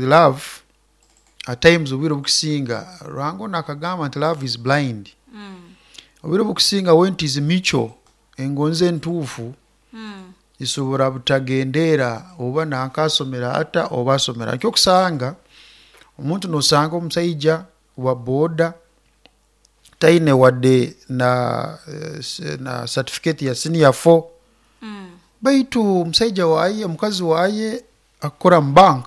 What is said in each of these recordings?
With love, at times obwire obukusinga, Ruhanga onu akagamba nti love is blind. Obwire obukusinga when it is mutual, engonzi entuufu isobora butagendeera oba nanka asomere ata oba asomere ata. Nikyo okusanga omuntu nosanga omusaija wa boda taine wadde na na certificate ya senior four, baitu omusaija waaye, omukazi waaye akukora mu bank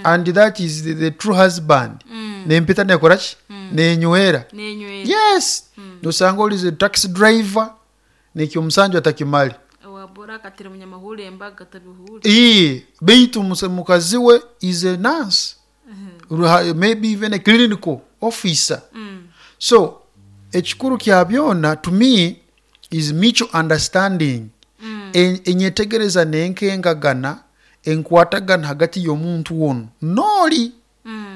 and that is the true husband. Nempeta nekora ki? Nenywera. Nenywera. Yes. Nosanga ori is taxi driver nekyo omusanju atakimare. Owa bora akatera omunyamahurre embaga tabihuure. Ii, baitu mukazi we is a nurse, maybe even a clinical officer. So ekikuru kya byona to me is mutual understanding. Enyetegereza n'enkengagana, enkwatagana hagati y'omuntu onu n'ori,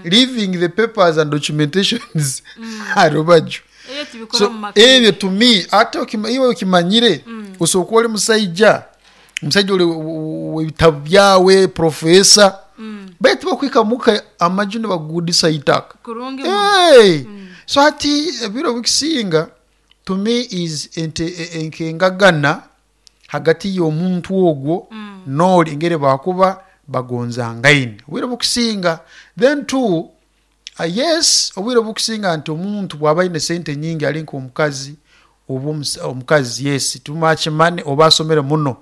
leaving the papers and documentations aha rubaju. Ebyo tubikora So omu maka. Ebyo to me, ate iwe okimanyire, osobola kuba ori musaija, omusaija ori w'ebitabu byawe, professor, baitu bakuhika muka amaju nibagugudisa itaka. Kurungi muno. Hey! So hati ebiro ebikusinga to me is enkengagana hagati y'omuntu ogwo n'ori engeri bakuba bagonzangaine obwire obukusinga. Then two, yes, obwire obukusinga nti omuntu bwaba aine sente nyingi ari nk'omukazi oba omukazi, yes, too much money oba asomere muno,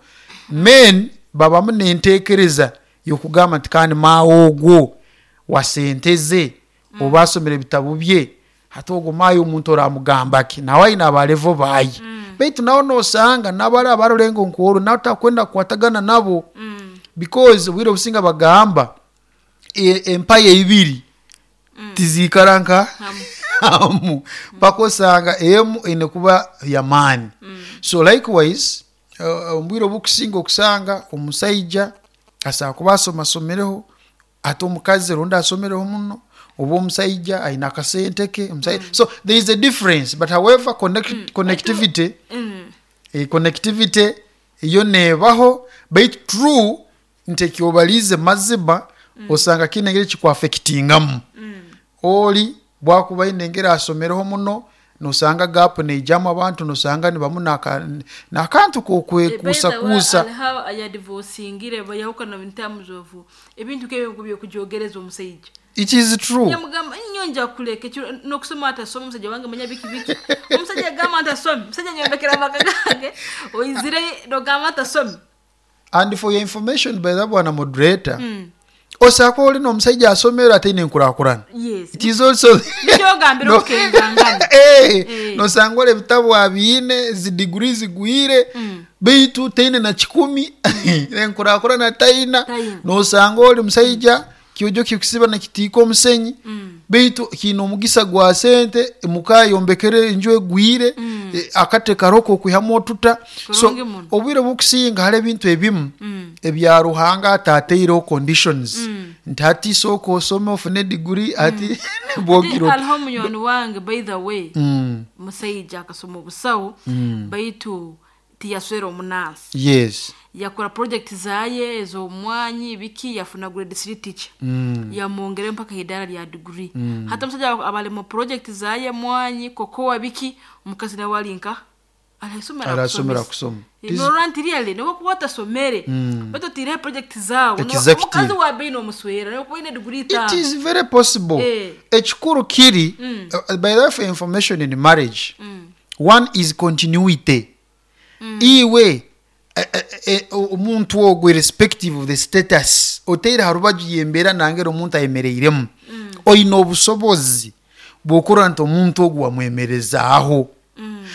men babamu n'entekereza y'okugamba nti kandi maawe ogwo wa sente ze oba asomere ebitabu bye, hati ogwo maawe omuntu oramugamba ki? Nawe aine aba level baaye. Baitu nawe nosanga nabari abarurengo nk'oru nawe takwenda kukwatagana nabo because obwire obusinga bagamba empaya ibiri tiziikara nka hamu mpaka osanga emu eine kuba y'amaani. So likewise omu bwire obukusinga okusanga omusaija asobola kuba asomasomireho ate omukazi rundi asomireho muno oba omusaija aine akasente ke so there is a difference, but however connectivity, connectivity yo neebaho, baitu true nti eki obariize mazima osanga kiine engeri kikuaffectingamu. Ori bwakuba aine engeri asomireho muno, nosanga gap neijamu, abantu nosanga nibamu n'akantu k'okwekuusakuusa. Hariho ayadivorcingire bayahukana in terms of ebintu nk'ebyo by'okujoogereza omusaija. It is true. Yamugamba, nyowe nja kukuleka ekiro n'okusoma atasoma omusaija wange manya biki biki. Omusaija yagamba nti asomi, omusaija nyombekera amaka gange, oizire nogamba nti asomi. And for your information by the bwana moderator, osobola kuba ori n'omusaija asomere ataine enkurakurana. It is also Nikyo ogambire okukengangana. Nosanga ori ebitabu abiine, zi degree zigwire, beitu taine na kikumi, enkurakurana taina. Taina. Nosanga ori musaija kyojo kikusiba nikitiika omusenyi, beitu kiine omugisa gwa sente, muka ayombekere enju egwire, akate kariho k'okwihamu otuta. So Kurungi muno. Obwire obukusinga hariho ebintu ebimu ebya Ruhanga atataireho conditions nti hati sooka osome ofune degree hati nibwo ogira oti. Hariho munywani wange, by the way, musaija akasoma obusaho, baitu tiyaswera omunansi. Yakora project zaye ez'omwanyi biki, yafuna grade 3 teacher, yamwongerayo mpaka idaara lya degree. Hati omusaija aba ali mu project zaye, mwanyi, cocoa, biki, omukazi nawe ali nka arasomera. Arasomera kusoma. Norora nti really nobu okuba otasomere, baitu otiireho project zaawe, omukazi wa beini omuswera nobu okuba oine degree It itaano. Is very possible. Ekikuru kiri, by the way, for information, in marriage one is continuity. Iwe omuntu ogwo, irrespective of the status, oteire ha rubaju y'embeera nangeri omuntu ayemereiremu, oine obusobozi bw'okurora nti omuntu ogu wamwemerezaaho.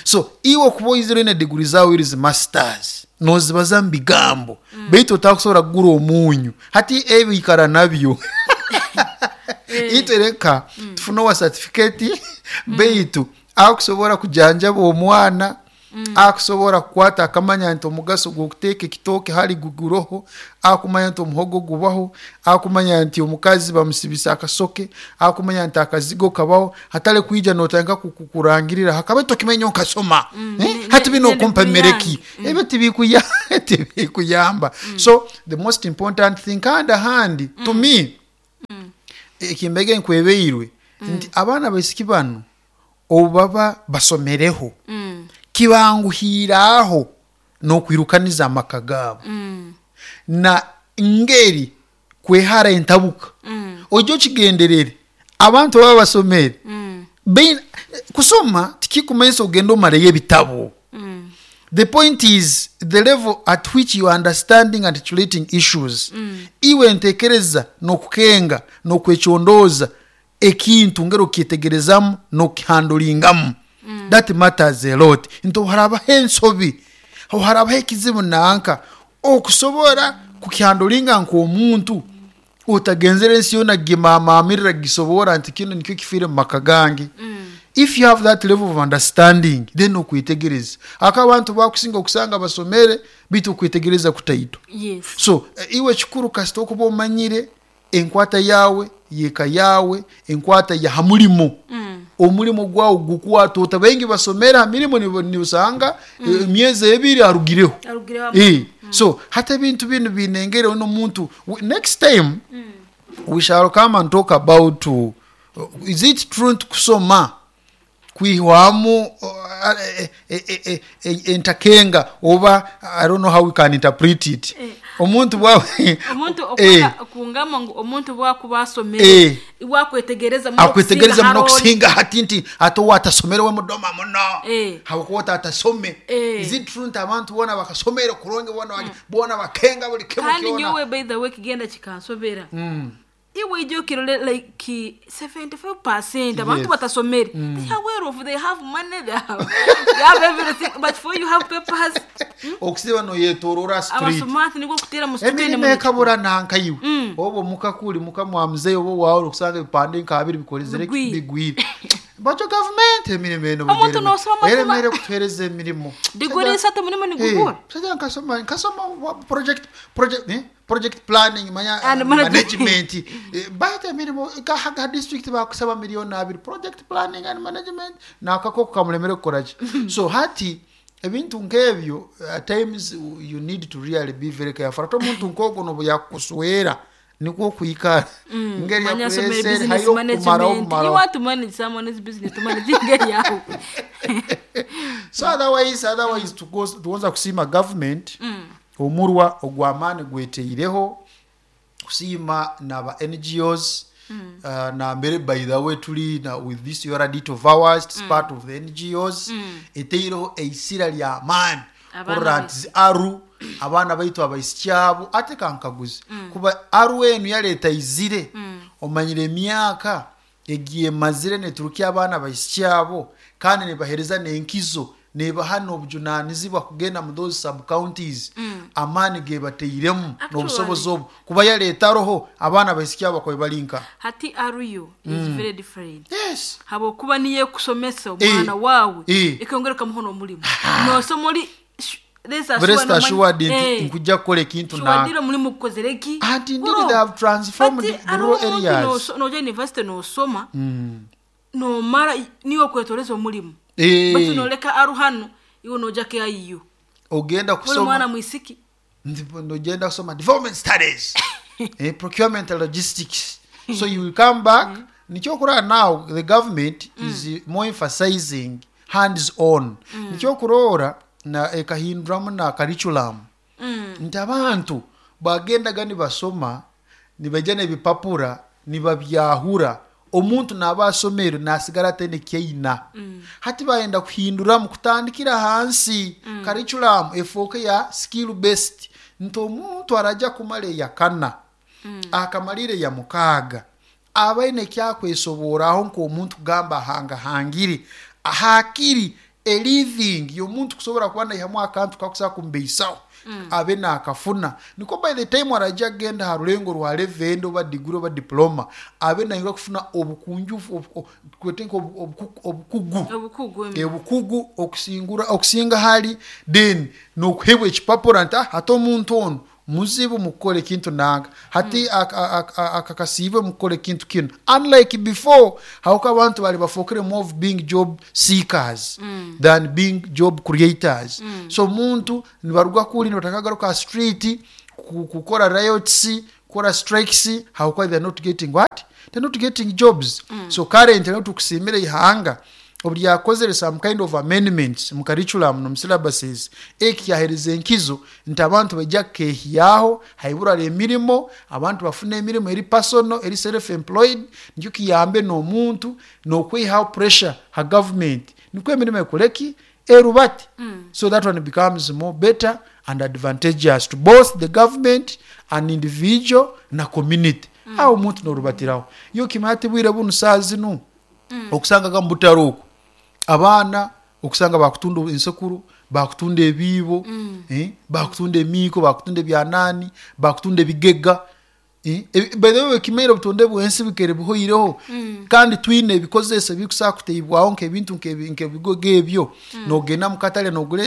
So iwe okuba oizire oine degree zaawe iri zi masters, nozibaza mu bigambo, baitu otakusobora kugura omunyu, hati ebi ikara nabyo. Itwe reka tufune owa certificate, baitu akusobora kujanjaba omwana, akusobora kukwata akamanya nti omugaso gw'okuteeka ekitooke hali guguroho, akumanya nti omuhogo gubaho, akumanya nti omukazi bamusibisa akasoke, akumanya nti akazigo kabaho, hatari kwija notandika kurangirira hakaba tokimanya nyowe nkasoma. Eh? Hati bino okumpa ne mere ki? Ebyo tibikuyamba. So the most important thing kandi ahandi to me. Ekimbege nkwebeirwe nti abaana baisiki banu obu baba basomereho, kibanguhiiraaho n'okwirukaniza amaka gaabo na ngeri kwehara entabuka. Ojya okigenderere, abantu baba basomere, kusoma tikikumanyisa ogenda omaleyo ebitabo. The point is the level at which you are understanding and articulating issues. Iwe ntekereza n'okukenga n'okwecondooza ekintu ngeri okukyetegerezamu n'okukihandulingamu. That matters a lot. Nti obu harabaho ensobi, obu harabaho ekizibu nanka, okusobora kukihandulinga nk'omuntu otagenzere ensi yoona kugimamaamirra kugisoboora nti kinu nikyo kifiire mu maka gange. If you have that level of understanding, then okwetegereza. Aka abantu bakusinga okusanga basomere baitu okwetegereza kutaito. So iwe kikuru kasita okuba omanyire enkwata yaawe y'eka yaawe, enkwata ya ha mulimo. Omulimo gwawe gukwata ota? Baingi basomere ha mirimo nibusanga emyezi 2 arugireho. Arugireho. So hati ebintu binu biine engeri n'omuntu, next time we shall come and talk about is it true nti kusoma kwihwamu entakenga oba I don't know how we can interpret it. Omuntu bwa Omuntu okungamba ngu omuntu bwakuba asomere, iwe akwetegereza muno. Akwetegereza muno okusinga hati nti ate owatasomere we mudoma muno habwokuba otatasome. Is it true nti abantu boona bakasomere kurungi, boona bakenga buli kimu Kandi kyona? Nyowe by the way kigenda kikansobera. Iwe ija okirole like 75% abantu batasomere, they are well off, they have money, they have everything, but for you have papers. Okusiba noyetorora street. Abasomati nibwo kutera mu street. Emirimo ekabura nanka iwe. Oba omuka kuli muka mwa muzeyi oba wawe okusanga ebipande nka abiri bikolezere Bigwire. Bigwire. Bajo gavumenti emirimo eno Omuntu nosoma eremere kutuhereza emirimo. Diguri isatu mulimo nigubura. Musajja nkasoma project planning manya And management. Management. Bahita emirimo ga district bakusaba 2 million project planning and management nakakoko kamulemere kukoraki. So hati ebintu nk'ebyo, at times you need to really be very careful. Ate omuntu nk'ogwo nobu yakukuswera nikwo okwikara ngeri Manya asomere yakuresere business hayo kumaraho management. You kumaraho. want to manage someone's business, to manage ngeri yawe. So otherwise tugonza kusiima government omurwa ogw'amaani gweteireho, kusiima naba NGOs, nambere by the way tuli na with this yoradit of ours. It's part of the NGOs eteireho eisira ly'amaani Abaana kurora baitu. Nti zi aru abaana baitu abaisiki abo ate kankaguzi kuba aru enu yaleeta izire omanyire emyaka egiemazire neturukya abaana baisiki abo kandi nibahereza n'enkizo, nebaha n'obujunanizibwa kugenda mu those sub counties. Amaani gebateiremu n'obusobozi obu kuba yaleeta roho abaana baisiki abo bakobe bali nka Hati aruyo is very different. Habwokuba niyo ekusomesa omwana wawe, ekongera ekamuha n'omulimu nosoma oli rest Rest assured. Assured nti nkujja kukola ekintu nanka. Shuwadira omulimu gukozere ki. Anti indeed they have transformed the rural areas. Noja university nosoma, nomara niwe okwetoreza omulimu, baitu noleka aru hano iwe noja KIU Ogenda uli kusoma mwana mwisiki. Nogenda kusoma development studies, procurement and logistics, so you will come back. Nikyo now the government is more emphasizing hands on. Nikyo kurora na ekahinduramu na curriculum nti abantu bagendaga nibasoma nibaija n'ebipapura nibabyahura. Omuntu naaba asomere nasigara ataine kyaina. Hati bayenda kuhinduramu kutandikira hansi, curriculum efooke ya skill based, nti omuntu araja kumara eyakana, akamalire ya 6, abaine ekyakwesoboraho nk'omuntu kugamba ahangahangire hakiri a living y'omuntu kusobora kuba naihamu akantu kakusobola kumubeisaho abe nakafuna. Niko by the time araja agenda ha rulengo rwa level oba degree oba diploma, abe nayinga kufuna obukunjufu kwete nka obukugu. Obukugu. Obukugu okusingura okusinga hali then nokuhebwa ekipapura nti, "Ah, ate omuntu ono muzibu mukukora ekintu nanka hati akakasiibwe mukukora ekintu kinu," unlike before hauko abantu bali bafokere more of being job seekers than being job creators. So omuntu nibaruga kuli nibatakagaruka street kukora riots, kukora. kukora strikes habwokuba they are not getting what? They are not getting jobs. So currently no tukusiimira ihanga obu ryakozere some kind of amendments mu curriculum n'omu syllabuses, eki kyahereza enkizo nti abantu baija kukehyaho haibura emirimo, abantu bafune emirimo eri personal, eri self employed, nikyo kiyambe n'omuntu n'okwihaho pressure ha government, nikwo emirimo ekoreki erubate. So that one becomes more better and advantageous to both the government and individual na community. Aho omuntu norubatiraho. Iwe kimanya ati bwire bunu saaha zinu okusangaga mu butare oku abaana okusanga bakutunda ensekuro, bakutunda ebiibo, bakutunda emiiko, bakutunda ebyanani, bakutunda ebigega. By the way okimaire obutonde bw'ensi bukaire buhoireho kandi twine ebikozesa ebikusobola kuteibwaho nk'ebintu nk'ebigogo ebyo. Nogenda mu katare nogura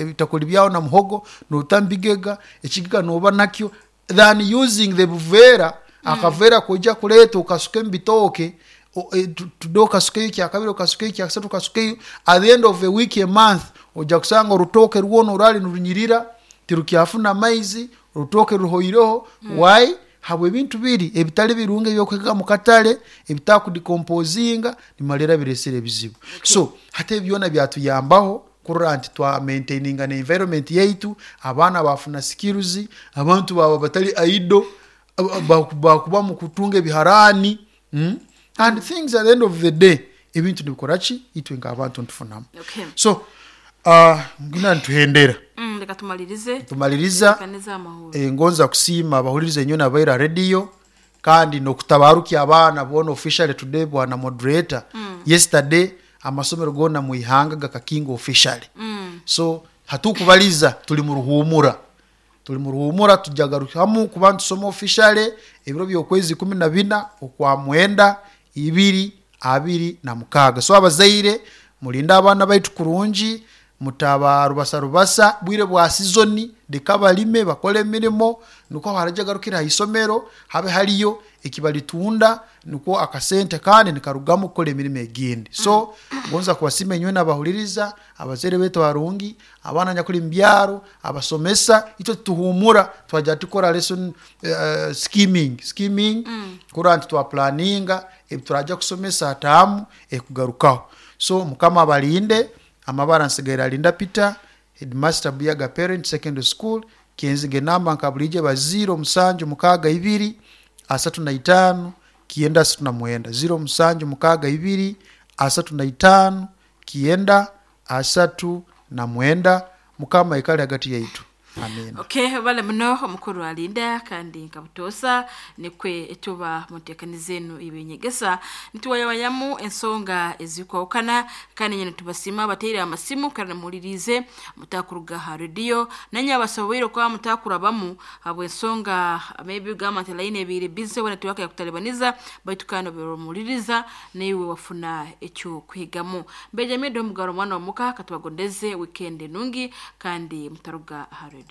ebitakuli byawe na muhogo nota mu bigega, ekigega noba nakyo than using the buveera, akaveera koija kureeta okasuke mu bitooke, today okasukeyo ekyakabiri, okasukeyo ekyakasatu, okasukeyo, at the end of a week, a month, oija kusanga orutooke rwona orwari nirunyirira tirukyafuna maizi, orutooke ruhoireho. Why? Habw'ebintu biri ebitali birungi ebyokuhiga mu katare ebitakudekomposinga nimalira biresire ebizibu. So hati ebi byona byatuyambaho kurora nti twa maintaininga na environment yaitu, abaana bafuna skills, abantu baba batali idle, bakuba mu kutunga ebiharani, and things at the end of the day ebintu nibikora ki itwe nk'abantu nitufunamu. So ngina nituhendera. Reka tumalirize. Tumaliriza. Tutekanize amahoro. Ngonza kusiima abahuliriza enyo nabaira radio kandi n'okutabarukia abaana boona officially today bwana moderator. Yesterday amasomero goona mu ihanga gakakinga officially. So hatukubaliza tuli mu ruhumura. Tuli mu ruhumura tujagarukamu kuba nitusoma officially ebiro by'okwezi 14 okwa mwenda ibiri abiri na mukaaga. So abazaire mulinde abaana baitu kurungi, mutaba rubasa rubasa, bwire bwa sizoni leka balime bakole emirimo, nikwo harajagarukira ha isomero habe hariyo ekibalitunda, nikwo akasente kandi nikarugamu kukora emirimo egindi. So ngonza kubasiima inywe n'abahuliriza, abazaire baitu barungi, abaana nyakuli mu byaro, abasomesa, itwe tutuhumura twaja tukora lesson skimming kurora nti twaplaninga ebi turaja kusomesa ataamu ekugarukaho. So Mukama abalinde, amabara nsigaire Alinda Peter, headmaster Buyaga Parent Secondary School, kyenziga enamba nka bulijo eba 0 7 6 2 35 9 39, 0 7 6 2 35 9 39. Mukama ikale hagati yaitu. Amen. Okay, bale muno omukuru Alinda kandi nkabutosa nikwe tuba mutekanize enu ibinyegesa nituwayawayamu ensonga ezikwawukana kandi nyine tubasima bateire amasimu kandi muhulirize mutakuruga ha radio nanye abasoboire kwa mutakurabamu habw'ensonga maybe gamba nti line ebiri busy wena tuwaka yakutalibaniza baitu kandi omuhuliriza naiwe wafuna ekyo kwigamu. Benjamin Domugaro mwana wa muka katubagondeze weekend nungi kandi mutaruga ha radio.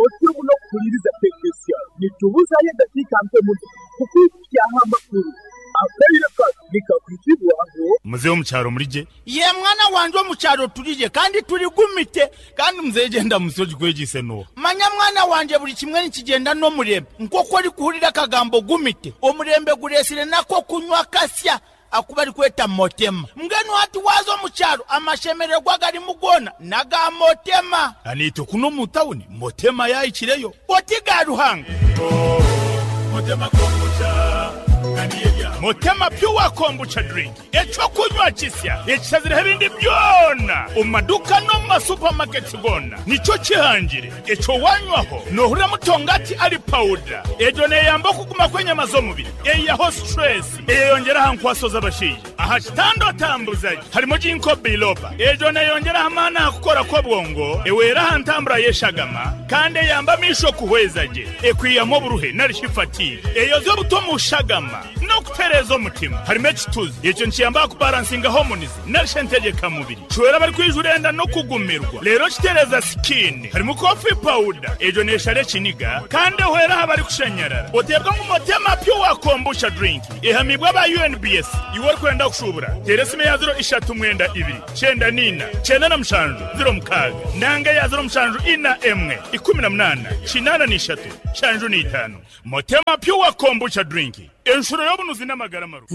Otyo muno kuhuliriza tekesya nitubuzayo edakika mpe muno kukwikyaho amakuru akaire kano nikakwitibwaho. Muzehe omukyaro murije? Ye mwana wanje omukyaro turije kandi turigumite kandi muzehe genda musoji kwegise no. Manya mwana wanje buli kimwe nikigenda n'omurembe nk'oku ori kuhurira akagambo gumite omurembe guresire nako kunywa kasya akuba ari kweta motema mbwenu hati waza omukyaro amashemererwa garimu gona naga motema. Anito kuno mu tawuni motema yayikireyo oti ga Ruhanga. Motema kombucha Motema pure kombucha drink eco kunywa kisya ekisazire ebindi byona mu maduka no mu masupermarket gona nico kihangire eco wanywaho nohurira mutongati ari powder ejo neyamba kuguma kwenyama z'omubiri eyaho stress eyongera hankwaso z'abashije aha kitando tambuzaji harimo jinko biloba ejo neyongera hamana kukora ko bwongo ewera hantambura yeshagama kandi yamba misho kuhwezaje ekwiyamo buruhe narishifati eyo zo butomushagama no kutere. Kitereeza omutima. Harimu ekituzi. Ekyo nikiyamba kubalansinga hormones narisha entegeka mubiri. Kihwera abarikwijura enda n'okugumirwa. Reero kitereeza skin. Harimu coffee powder. Egyo neeshara ekiniga kandi ehwera aha barikushanyarara. Oteebwa ngu Motema Pure Kombucha Drink ehamibwe aba UNBS. Iwe orikwenda kushuubura, teera esimu eya 032 94 97 06 nanga eya 0741 18 83 75. Motema Pure Kombucha Drink, enshuro y'obunuzi n'amagara marungi.